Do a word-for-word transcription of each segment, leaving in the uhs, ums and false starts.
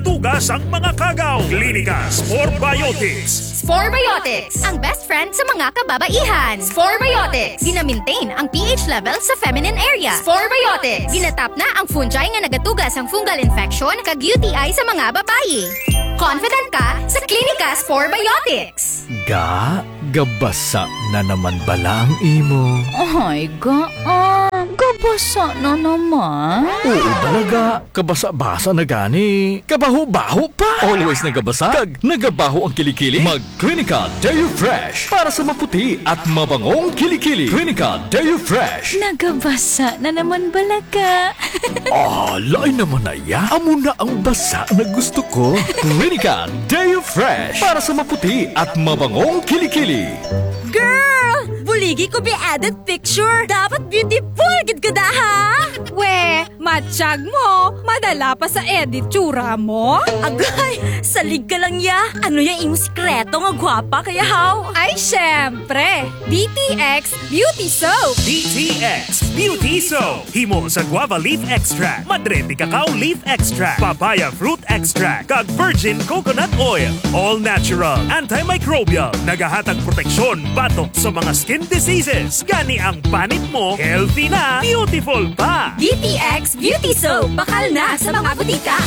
Tugas ang mga kagaw. Klinika Spore Biotics. Spore Biotics, ang best friend sa mga kababaihan. Spore Biotics, gina-maintain ang P H level sa feminine area. Spore Biotics, ginatap na ang fungi nga nagatuga sang fungal infection kag U T I sa mga babayi. Confident ka sa Klinika Spore Biotics. Ga, gabasa na naman bala ang imo? Ay, ga, ah, gabasa na naman? Oo bala, ga. Kabasa-basa na gani. Kabaho-baho pa. Always nagabasa kag nagabaho ang kilikili. Mag Klinika Deo Fresh para sa maputi at mabangong kilikili. Klinika Deo Fresh. Nagabasa na naman bala, ga. Ah, lain naman na ya. Amo na ang basa na gusto ko. Klinika Deo Fresh para sa maputi at mabangong kilikili. Girl! Buligi ko bi edit picture. Dapat beautiful gid ka da, ha? We, matyag mo. Madala pa sa edit tsura mo? Agay, salig ka lang ya. Ano ya imo sikreto nga gwapa ka ya, haw? Ay, syempre. D T X Beauty Soap. D T X Beauty Soap. Himo sa guava leaf extract, madre de cacao leaf extract, papaya fruit extract, kag virgin coconut oil. All natural, antimicrobial, nagahatag proteksyon batok sa mga skin diseases. Gani ang panit mo, healthy na, beautiful pa. D T X Beauty Soap, bakal na sa mga butika.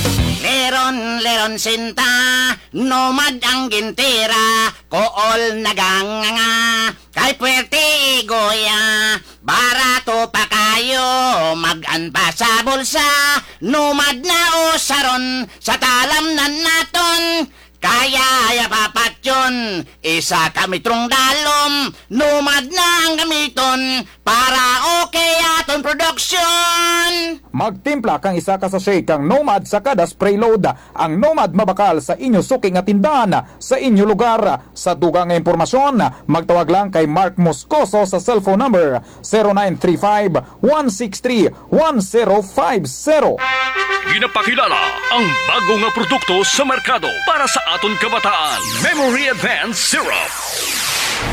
Leron, leron sinta, Nomad ang gintira, kool naganganga. Kay puwerte igoya, barato pa kayo, mag-an pa sa bulsa. Nomad na usaron, sa talamnan naton. Kaya ya papatyon, isa ka metrong dalom. Nomad na ang gamiton, para okay aton production. Magtimpla kang isa ka sachet kang Nomad sa kada spray load. Ang Nomad mabakal sa inyo suki nga tindahan, sa inyo lugar. Sa dugang nga impormasyon, magtawag lang kay Mark Moscoso sa cellphone number zero nine three five, one six three, one zero five zero. Ginapakilala ang bago nga produkto sa merkado para sa aton kabataan, Memory Advance Syrup.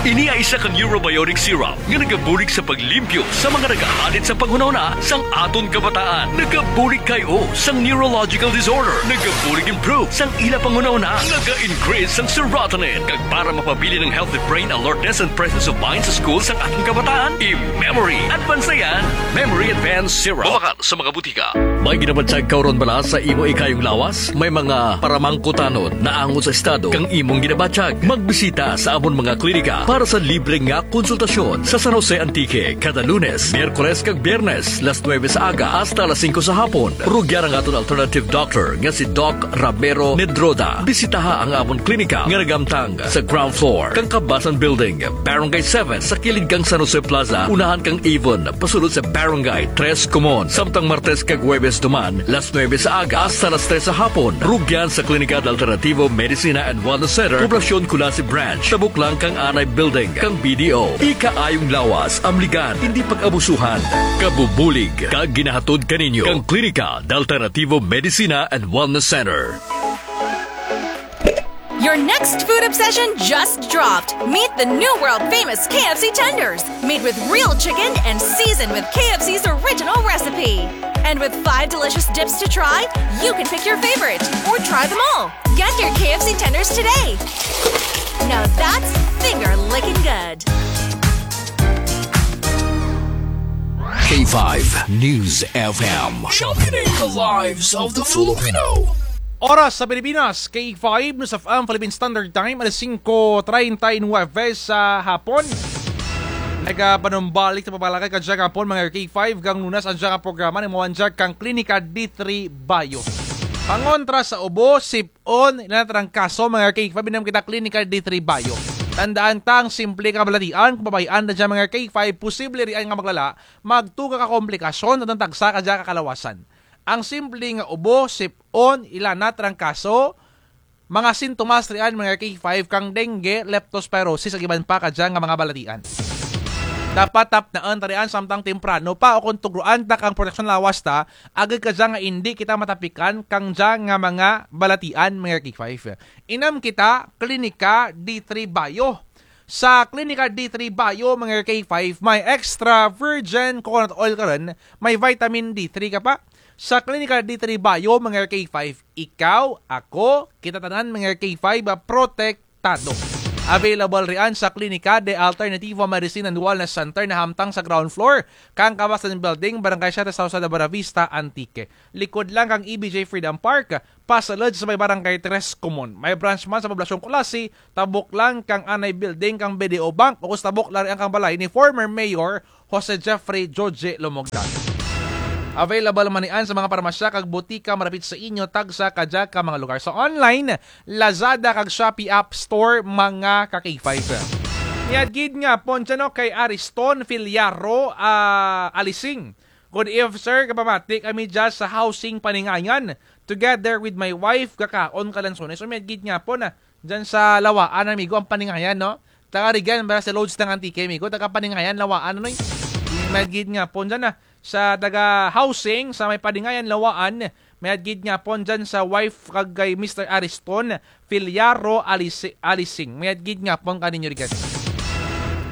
Ini ay isa ka neurobiotic syrup nga nagabulig sa paglimpyo sa mga nagahalit sa panghunahuna sang aton kabataan. Nagabulig kay o sang neurological disorder. Nagabulig improve sang ila panghunahuna. Naga-increase sang serotonin. Kag para mapabilin ang healthy brain alertness and presence of mind sa school sang aton kabataan, i-Memory Advance na yan. Memory Advance Syrup. Mabakal sa mga butika. May ginabatyag ka run bala sa imo ikayong lawas? May mga paramangkutanon naangot sa estado kang imong ginabatyag? Magbisita sa amon mga klinika para sa libre nga konsultasyon sa San Jose, Antique, kada Lunes, Miyerkules kag Biyernes, las nuebe sa aga hasta las singko sa hapon. Rugyan ang aton alternative doctor nga si Doc Ramiro Nedroda. Bisitaha ang amon klinika nga nagamtang sa ground floor kang Kabasan Building, Barangay seven, sa kilid kang San Jose Plaza, unahan kang Avon, pasulod sa Barangay Tres Comon. Samtang Martes kag Huwebes duman, las nuebe sa aga hasta las tres sa hapon. Rugyan sa Klinika de Alternativo Medicina and Wellness Center, Poblacion Culasi Branch, tabok lang kang Anay Building kang B D O. Ikaayong lawas, amligan, indi pag-abusuhan. Kabubulig kag ginahatod kaninyo kang Klinika de Alternativo Medicina and Wellness Center. Your next food obsession just dropped. Meet the new world famous K F C tenders, made with real chicken and seasoned with K F C's original recipe. And with five delicious dips to try, you can pick your favorite or try them all. Get your K F C tenders today. Now that's finger licking good. K five News F M. Championing the lives of the Filipino. Oras sa Pilipinas, K five News F M Philippine Standard Time, alas singko treinta y nueve sa hapon. Nagapanumbalik sa pagpalakay kadya nga hapon, mga K five, kang Lunes ang dya nga programa, nang mawanjag kang Klinika D three Bio. Pangontra sa ubo, sip-on, ila na trangkaso, mga K five, inam kita Klinika D three Bio. Tandaan ta, ang simple nga kabalatian, kababayian na dya, mga K five, posible rian nga maglala, magtuga ka komplikasyon, at ang tagsa kadya ka kalawasan. Ang simple nga ubo, sip-on, ila na trangkaso, mga sintomas rian, mga K five, kang dengue, leptospirosis, kag iban pa kadya nga mga balatian. Dapat tapnaan ta rian samtang temprano pa, o kon tugroan ta kang proteksyon lawas ta, agud kadya nga indi kita matapikan kang dya nga mga balatian, mga K five. Inam kita, Klinika D three Bio. Sa Klinika D three Bio, mga K five, may extra virgin coconut oil ka run, may vitamin D three ka pa, sa Klinika de Tribayo, mga K five. Ikaw, ako, kita tanan, mga K five, ah, protektado. Available rian sa Klinika de Alternativa Medicine and Wellness Center na hamtang sa ground floor kang Kabasan Building, Barangay Siete, Sausalda, Buenavista, Antique. Likod lang kang E B J Freedom Park, pasulod sa may Barangay Tres Comon. May branch man sa Poblacion Culasi, tabok lang kang anay building kang B D O Bank, o sa tabok lang rian kang balay ni former Mayor Jose Jeffrey Joje Lomogdan. Available man niyan sa mga parmasya kag botika marapit sa inyo, tagsa kadya ka mga lugar. Sa online, Lazada kag Shopee App Store, mga ka K five. Mayad gid nga hapon dyan, no, kay Ariston Filiaro, ah, Alising. Good eve, sir. Kapamati kami dyan sa Housing Paningayan. Together with my wife, kakaon kalansunes. So, mayad gid nga hapon, ah. Dyan sa Lawaan, amigo, ang Paningayan, no? Taga Regan, ba sa Lods ng Antique, amigo. Taga Paningayan, Lawaan, ano, eh? Mayad gid nga hapon dyan, ah. Sa taga Housing, sa may Paningayan, Lawaan, mayad gid nga hapon dyan sa wife kag kay Mister Ariston Filiaro Alisi-, Alising. Mayad gid nga hapon kaninyo, Regan.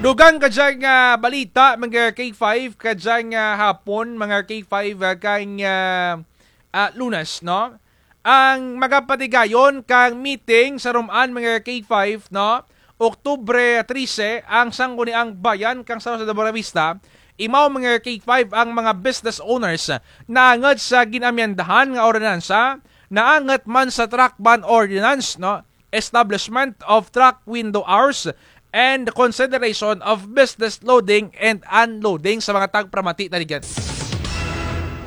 Dugang kadya nga balita, mga K five, kadya nga hapon, mga K five, ah, kang, ah, ah, Lunes, no? Ang magapatigayon kang meeting sa Roman, mga K five, no? Oktubre trese, ang Sangguniang Bayan kang San Jose de Buenavista, imaw, mga K five, ang mga business owners naangot sa gin-amyendahan nga ordinansa, naangot man sa truck ban ordinance, no? Establishment of truck window hours and consideration of business loading and unloading sa mga tagparamati tarigan.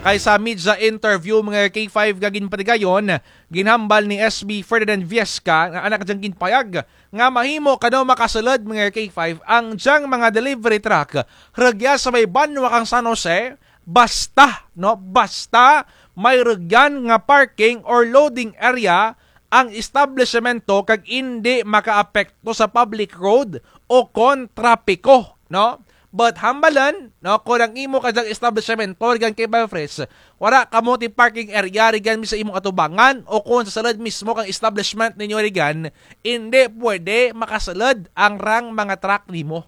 Kay sa media interview, mga K five, nga ginpatigayon, ginhambal ni S B Ferdinand Viesca, nga anak dyang ginpayag, nga mahimo kano makasulod, mga K five, ang dyang mga delivery truck rugya sa may banwa kang San Jose, basta, no, basta may rugyan nga parking or loading area ang establisyemento kag indi makaapekto sa public road o kon trapiko, no? But hambalan, no, kon ang imo kadyang establisyemento rigan kay Bevres, wara kamo ti parking area rigan mi sa imong atubangan o kon sa sulod mismo kang establishment ninyo rigan, indi pwede makasulod ang rang mga truck nimo.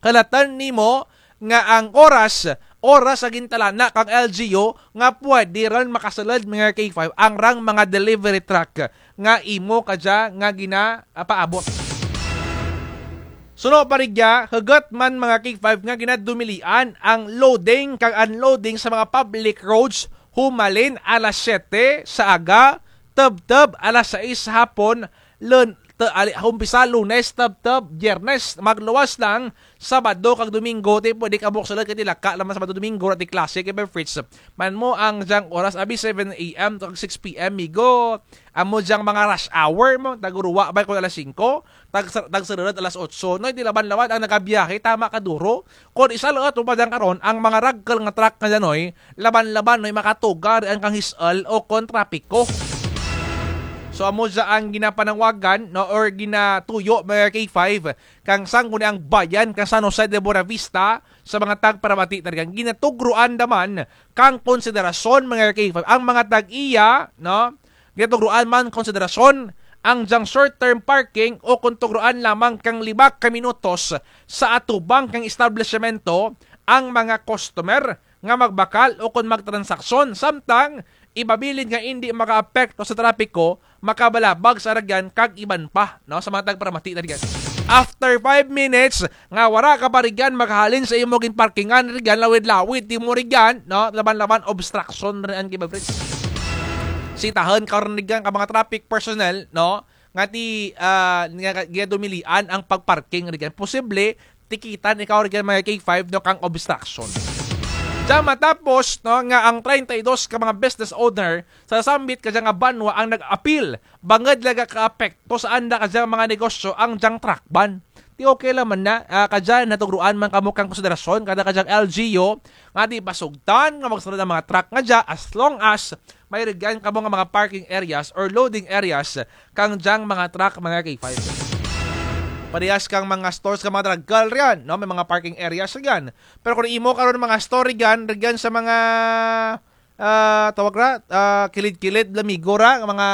Hulatan nimo nga ang oras, oras sa gintalana kang L G U nga pwede ran makasulod, mga K five, ang rang mga delivery truck nga imo kadya nga gina-, ah, paabot. Suno pa rugya, hugot man, mga K five, nga ginadumilian ang loading kag unloading sa mga public roads humalin alas siyete sa aga, tubtub alas sais sa hapon, lun-, te-, ali-, umpisa Lunes, tubtub Biyernes, magluwas lang Sabado kag Domingo, ti pwede kamo sulod kay ti laka lang man Sabado, Domingo, wara ti klase kay Bevres. Man-an mo ang dyang oras, abi seven A M to kag six P M, migo. Amo dyang mga rush hour mo, tagruwa bay kon alas singko, tag-, tagsururut alas otso. No, ti laban-laban ang nagabiyahe, tama kaduro. Kon isaluut mo pa dyang karon, ang mga ragkul nga truck nga dyan, oy, laban-laban, oy, makatuga rian kang his-ul o kon trapiko. So, amo dya ang ginapanawagan, no, or ginatuyo, mga K five, kang Sangguniang Bayan kang San Jose de Buenavista sa mga tagparamati tarigan. Ginatugruan da man kang konsiderasyon, mga K five, ang mga tag-iya, no? Ginatugruan man konsiderasyon ang dyang short-term parking o kon tugruan lamang kang lima ka minutos sa atubang kang establisyemento ang mga customer nga magbakal o kon magtransaksyon, samtang iba bilin nga indi makaapekto sa trapiko, makabalabag sa rugyan kag iban pa, no, sa mga tagparamati tarigan. After five minutes nga wara ka pa rugyan makahalin sa imo ginparkingan rugyan, lawid-lawid ti mo rugyan, no, laban-laban obstruction rian kay Bevres. Sitahun ka run rugyan ka mga traffic personnel, no, nga ti, ah, nga, nga dumilian ang pagparking rugyan. Posible tikitan ikaw rugyan, mga K five, no, kang obstruction. Dya matapos, no, nga ang treinta y dos ka mga business owner sa sambit kadya nga banwa ang nag-apil bangud la gakaapekto sa anda kadya mga negosyo ang dyang truck ban. Ti okay lang man na, ah, kadya natugruan man kamo kang konsiderasyon kada kadyang L G U nga ti pasugtan nga magsulud ang mga truck nga dya as long as may rugyan kamo nga mga parking areas or loading areas kang dyang mga truck, mga K five. Parehas kang mga stores kang mga tragkul rian, no? May mga parking areas rian. Pero kon imo karon mga store rian, rian sa mga ah, tawag ra, ah, kilid-kilid, lamigo ra, nga mga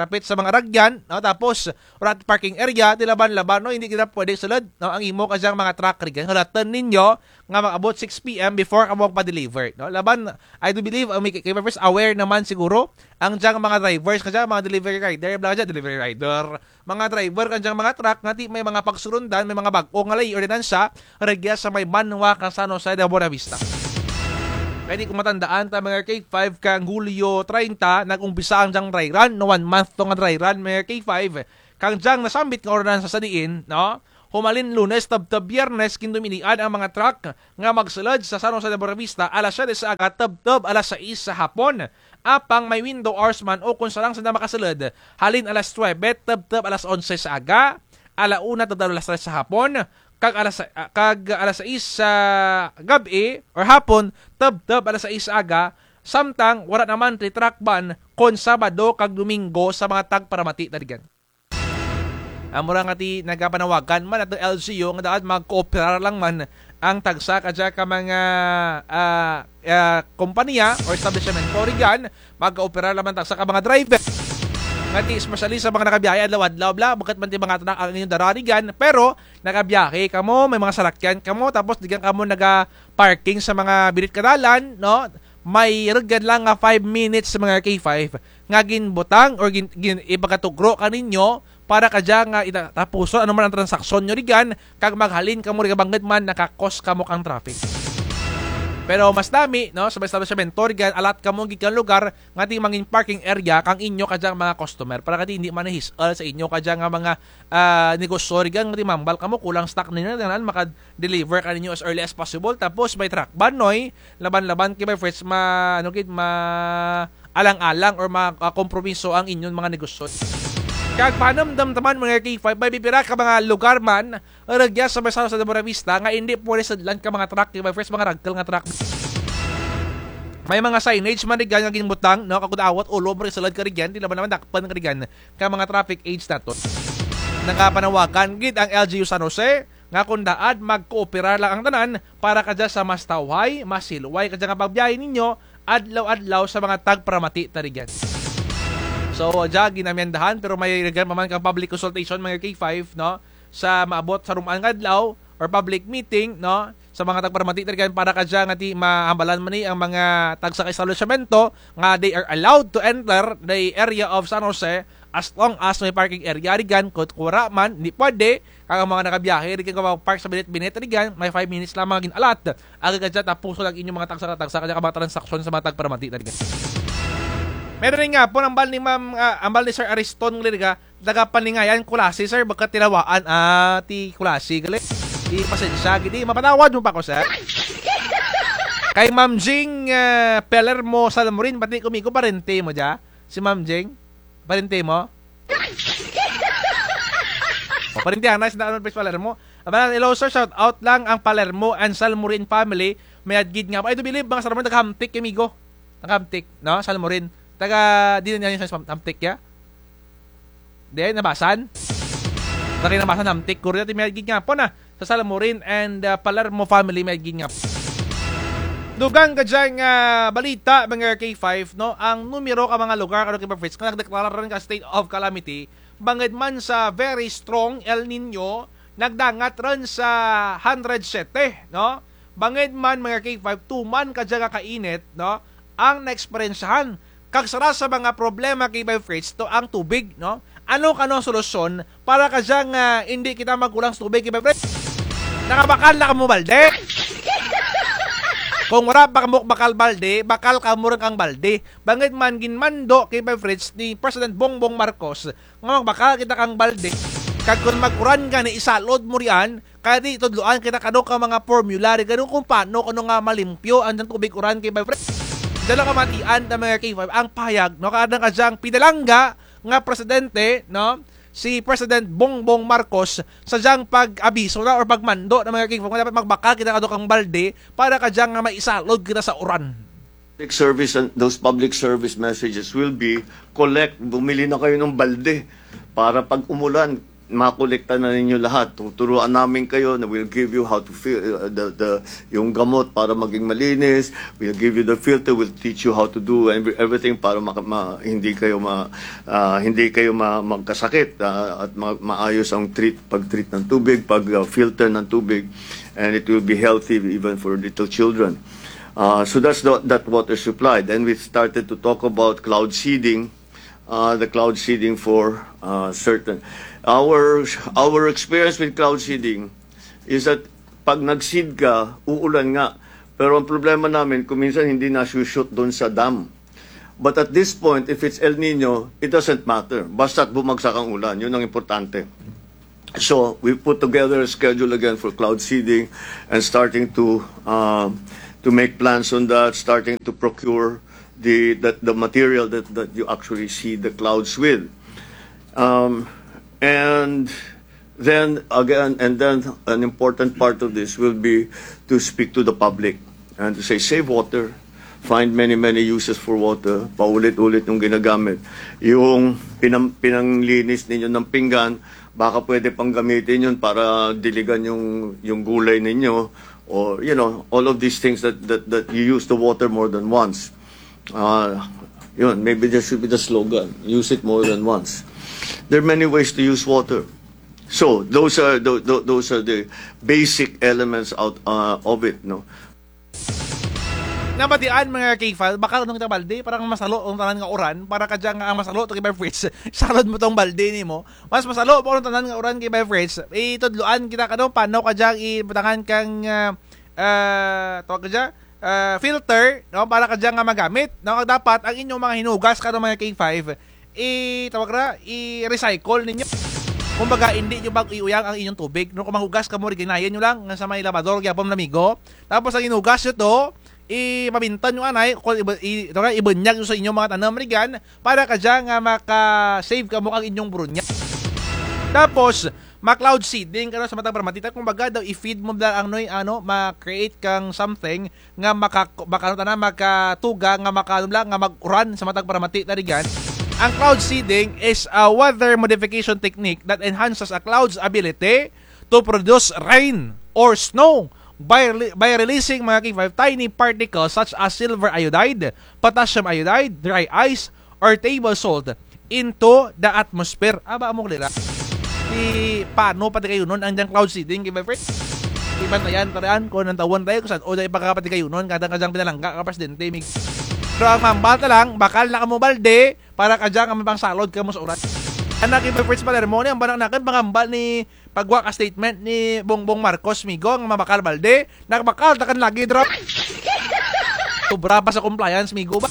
rapit sa mga ragyan, no? Tapos, wara ti parking area, ti laban-laban, no? Hindi kita pwede sulod, no? Ang imo kadyang mga truck, ragyan. Hulatun ninyo nga mag-abot six P M before kamo magpa-deliver, no? Laban, I do believe, ah, may, kay, kay first aware naman siguro, ang dyang mga drivers, kadya, mga delivery rider, bala kadya, delivery rider, mga driver, kadyang mga truck, nga ti may mga pagsurundan, may mga bag-o nga lay ordinansya, rugya sa may banwa kang San Jose de Buenavista. Kay di ko matandaan ta mga K five kang Hulyo treinta, nag-umpisa ang dyang dry run, no, one month to nga dry run, mga K five. Kang dyang nasambit nga ordinansa sa diin, no? Humalin Lunes, tubtub Biyernes, ginduminian ang mga truck nga magsulod sa San Jose de Buenavista, alas siyete sa aga, tubtub alas sais sa hapon. Apang may window hours man o kon sarang sanda makasulod, halin alas nuwebe, tubtub alas onse sa aga, ala una, tubtub alas tres sa hapon, kag alas, ah, kag alas sais sa gab-i or hapon, tubtub alas sais sa aga, samtang wara naman ti truck ban kon Sabado kag Domingo sa mga tagparamati ta rugyan. Amo ra nga ti nagapanawagan man atun L G U nga dapat magkooperar lang man ang tagsa kadya ka mga, ah, ah, kompanya or establisyemento rugyan, magkooperar lang man tagsa ka mga driver. Nga ti especially sa mga nagabiyahe adlaw-adlaw bala, bukut man ti mga truck ang inyong dara rugyan, pero nagabiyahe kamo, may mga sarakyan kamo, tapos rugyan kamo naga-parking sa mga birit ka dalan, no? May rugyan lang nga five minutes sa mga K five nga ginbutang or gin-, gin-, ipakatugro kaninyo para kadya nga ita-, tapuson ano man ang transaksyon nyo rugyan, kag maghalin kamo rugyan bangud man naka-cause kamo kang traffic. Pero mas nami, no, sa mga establisyemento rugyan, allot kamo gid kang lugar nga ti mangin parking area kang inyo kadyang mga customer para nga ti hindi man his-al sa inyo kadya nga mga, ah, negosyo rugyan nga ti mambal kamo, kulang stock ninyo, tanan maka-deliver kaninyo as early as possible. Tapos may truck ban, noy, laban-laban kay by first ma-, ano gid, ma-, alang-alang or ma-, ah, kompromiso ang inyong mga negosyo. Kag panumdum ta man mga K five, may pipira ka mga lugar man rugya sa may San Jose de Buenavista nga hindi pwede sudlan ka mga truck, K five, first mga ragkul nga truck. May mga signage man rugyan nga ginbutang, no, kag kun awat ulo mo sulod ka rugyan, ti laban-laban dakpan ka rugyan ka mga traffic aids natun. Nagapanawagan gid ang L G U San Jose nga kon daad magkooperar lang ang tanan para kadya sa mas tawhay, mas hilway kadya nga pagbiyahe ninyo adlaw-adlaw sa mga tagparamati ta rugyan. So, dya ginamyendahan, pero may rugyan pa man kang public consultation, mga K five, no? Sa maabot sa rum-an nga adlaw, or public meeting, no? Sa mga tagparamati ta rugyan para kadya nga ti mahambalan man ni ang mga tagsa ka establisyemento nga they are allowed to enter the area of San Jose as long as may parking area rugyan, kun wara man, hindi pwede, kag ang mga nagabiyahe, rugyan ka mag-park sa binit-binit, rugyan, may five minutes lamang gin-allot. Agad kadya, tapuson ang inyong mga tagsa-tagsa, kadya ka mga transaksyon sa mga tagparamati ta rugyan. Meron nga po, ang hambal ni Ma'am, ah, hambal ni Sir Ariston, nga rugya, taga Paningayan, Culasi, sir, baka tinawaan, ah, ti Culasi, gali. Ti pasensya, gid, mapatawad mo pa ko, sir. Kay Ma'am Jing, ah, Pelermo Salmorin, pati kumigo, parente mo dya. Si Ma'am Jing, parente mo? O, parente, ana, si Daan Lopez Palermo. Aba, hello, sir, shout out lang ang Palermo and Salmorin family. May adgid nga. I do believe, mga Salmorin, naghamtik, amigo. Naghamtik, no? Salmorin. Taga, di na niya sa hamtik, ya? Di, Nabasan? Taga Nabasan, hamtik. Korea, ti may adgid nga po na. Sa Salmorin and, ah, Palermo family, may gin nga. Dugang kadyang, ah, balita, mga K five, no? Ang numero ka mga lugar, ano, K five Fritz, nga nagdeklara run ka state of calamity, bangud man sa very strong El Niño, nagdangat run sa hundred sete, no? Bangud man, mga K five, tuman kadya nga kainit, no? Ang naeksperyensyahan kag sara sa mga problema, K five Fritz, to ang tubig, no? Ano kano ang solusyon para kadya nga indi kita magkulang sa tubig, K five Fritz? Nakabakal na kamo balde? Kung wara pa kamo bakal balde, bakal kamo run kang balde. Bangud man ginmando, K five Fritz, ni President Bongbong Marcos nga magbakal kita kang balde. Kag kun mag-uran gani, isalod mo riyan, kay ti tudloan kita kano ka mga formula ri gani kun paano kano nga malimpyo ang dyang tubig uran, K five Fritz. Dyan lang kamatian ta, mga K five, ang pahayag, no, kang kadyang pinalangga nga presidente, no, si President Bongbong Marcos, sa dyang pag-abiso na or pagmando na, mga K five, nga dapat magbakal kita kano kang balde para kadya nga maisalod kita sa uran. Public service and those public service messages will be, collect, bumili na kayo ng balde para pag umulan, makolekta na ninyo lahat. Tuturuan namin kayo na we'll give you how to fil-, uh, the, the, yung gamot para maging malinis. We'll give you the filter. We'll teach you how to do every-, everything para maka-, ma-, hindi kayo ma-, ah, hindi kayo ma-, magkasakit, ah, at ma-, maayos ang treat, pag-treat ng tubig, pag, ah, filter ng tubig, and it will be healthy even for little children. Uh, so that's the, that water supply. Then we started to talk about cloud seeding, uh, the cloud seeding for, uh, certain. Our, our experience with cloud seeding is that pag nag-seed ka, uulan nga. Pero ang problema namin, kung minsan hindi nasushoot doon sa dam. But at this point, if it's El Nino, it doesn't matter. Basta't bumagsak ang ulan, yun ang importante. So we put together a schedule again for cloud seeding and starting to, uh, to make plans on that, starting to procure the, the, the material that, that you actually seed the clouds with. Um, and then again, and then an important part of this will be to speak to the public and to say, "Save water, find many, many uses for water." Paulit-ulit yung ginagamit. Yung pinam-, pinanglinis ninyo ng pinggan, baka pwede pang gamitin yun para diligan yung, yung gulay ninyo. Or, you know, all of these things that, that, that you use the water more than once. Uh, yun, maybe that should be the slogan. Use it more than once. There are many ways to use water. So, those are the, tho-, those are the basic elements out, uh, of it, no? Nabatian, mga K five, bakal unta ka balde, para nga masalo ang tanan nga uran, para kadya nga ang masalo to K five Fritz, salod mo tong balde nimo. Mas masalo pa ang tanan nga uran, K five Fritz. Itudloan kita kano, paano kadya ibutangan kang, ah, ah, tawag kadya, ah, filter, no, para kadya nga magamit, no, kag dapat ang inyong mga hinugas kano, mga K five, i-, tawag ra, i-recycle ninyo. Kumbaga, hindi nyo bag-o iuyang ang inyong tubig, no, kung manghugas kamo, ri, ginayan nyo lang nga sa may labador gyapon, mga amigo. Tapos ang hinugas nyo to, i-, mabintan nyo anay, kung iba-, i-, tawag ra, ibunyag nyo sa inyong mga tanom, ri, gyan, para kadya nga maka-save kamo ang inyong burunya. Tapos, ma-cloud seeding kano sa matag paramati, ta kumbaga daw i-feed mo bala ang noy, ano, ma-create kang something nga maka-, maka-, ano tana, makatuga nga maka-, ano bala, nga mag-uran sa matag paramati, ta ri gyan. Ang cloud seeding is a weather modification technique that enhances a cloud's ability to produce rain or snow by rele-, by releasing, mga K five, tiny particles such as silver iodide, potassium iodide, dry ice, or table salt into the atmosphere. Aba, amo ko dira. Di paano patigayunon ang dyang cloud seeding, K five Fritz? Di bantayan ta dyan, kung nantawon tayo, kung san-o dyan ipakapatigayunon, kadya nga dyang pinalangga ka presidente, mig-. Pero ang mambal ta lang, bakal na kamo balde, para kadya nga mapangsalod kamo sa uran. Ana, K five Fritz Palermo, ni ang banak nakin, pangambal ni Pagwa ka statement ni Bongbong Marcos, migo, nga mabakal balde, nagbakal ta kan lagi, dra. Sobra pa sa compliance, migo, ba?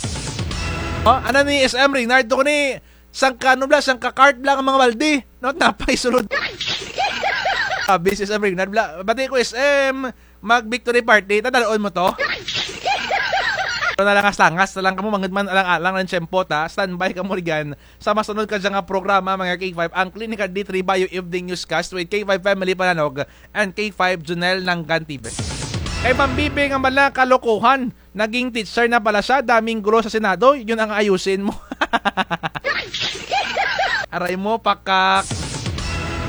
O, ana ni S M Reynard, to ni, sangka, ano bala, sangka cart bala ang mga balde. No, napay sulod. Abi si S M Reynard bala. Bati ko, S M, mag-victory party, tadal-on mo to. Pero nalangas-langas na lang kamo, mangud man alang-alang ang tiyempo ta, standby kamo ri gyan. Sa masunod kadya nga programa, mga K five, ang Clinical D three Bio Evening Newscast with K five Family Pananog and K five Junel Nanggan T V. Kay Ma'am Bibi nga bala kalokohan, naging teacher na pala siya, daming gulo sa Senado, yun ang ayusin mo. Aray mo, pakak.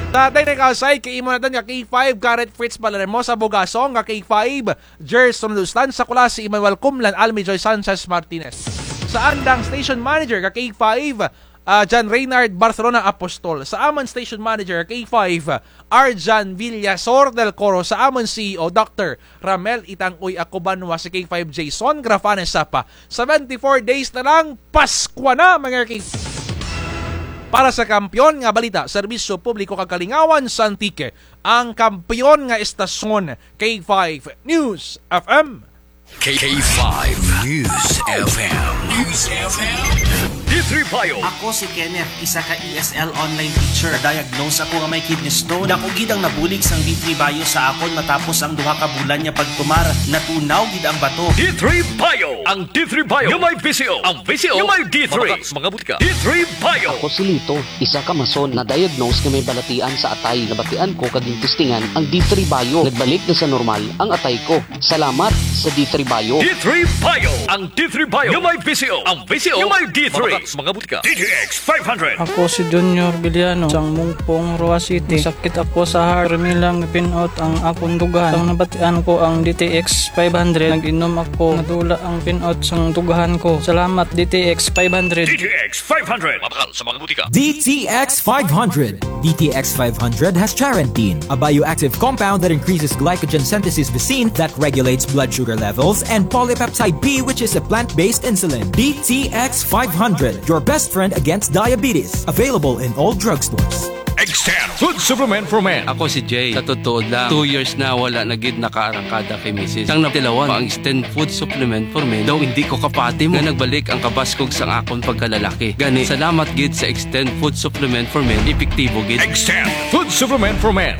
Sa atay na ikaw, side, kay imo na tan nga K five, Garrett Fritz Palermo, sa Bugasong, nga K five, Gerson Lustan, sa Culasi, Emmanuel Cumlan, Almi Joy Sanchez Martinez. Sa andang station manager ka K five, ah, John Reynard Barcelona Apostol. Sa amun station manager K five, Arjan Villasor del Coro. Sa amun C E O, Doctor Ramel Itangoy Acobanwa. Si K five Jason Grafane Sapa. Seventy-four days na lang, Paskwa na, mga K five. Para sa kampiyon nga balita, serbisyo publiko kag kalingawan sa Antique, ang kampiyon nga estasyon, K five News F M. K five News F M. News F M. D three Bio. Ako si Kenneth, isa ka E S L online teacher. Diagnose ako nga may kidney stone. Dako gid ang nabulig sang D three Bio sa akon matapos ang duha ka bulan nga pagtumar. Natunaw gid ang bato. D three Bio. Ang D three Bio nga may V C O. Ang V C O nga may D three. Mga butika. D three Bio. Ako si Lito, isa ka mason na diagnose nga may balatian sa atay. Nabatian ko kag gintistingan ang D three Bio. Nagbalik na sa normal ang atay ko. Salamat sa D three Bio. D three Bio. Ang D three Bio nga may V C O. Ang V C O nga may D three. sa mga butika. D T X five hundred. Ako si Junior Villano, sang Mungpong, Roxas City. Masakit ako sa heart. Pirmi lang pin-out ang akon dughan. Sang nabatian ko ang D T X five hundred, nag-inom ako. Nadula ang pin-out sang dughan ko. Salamat, D T X five hundred. D T X five hundred. Mabakal sa mga butika. D T X five hundred. D T X five hundred has charantine, a bioactive compound that increases glycogen synthesis vacin that regulates blood sugar levels, and polypeptide B, which is a plant-based insulin. D T X five hundred, your best friend against diabetes. Available in all drugstores. Extend Food Supplement for Men. Ako si Jay. Sa totoo lang, two years na wala na gid nakaarangkada kay misis. Sang natilawan ko ang Extend Food Supplement for Men, daw indi ko kapati mo nga nagbalik ang kabaskog sang akon pagkalalaki. Gani, salamat gid sa Extend Food Supplement for Men, epektibo gid. Extend Food Supplement for Men.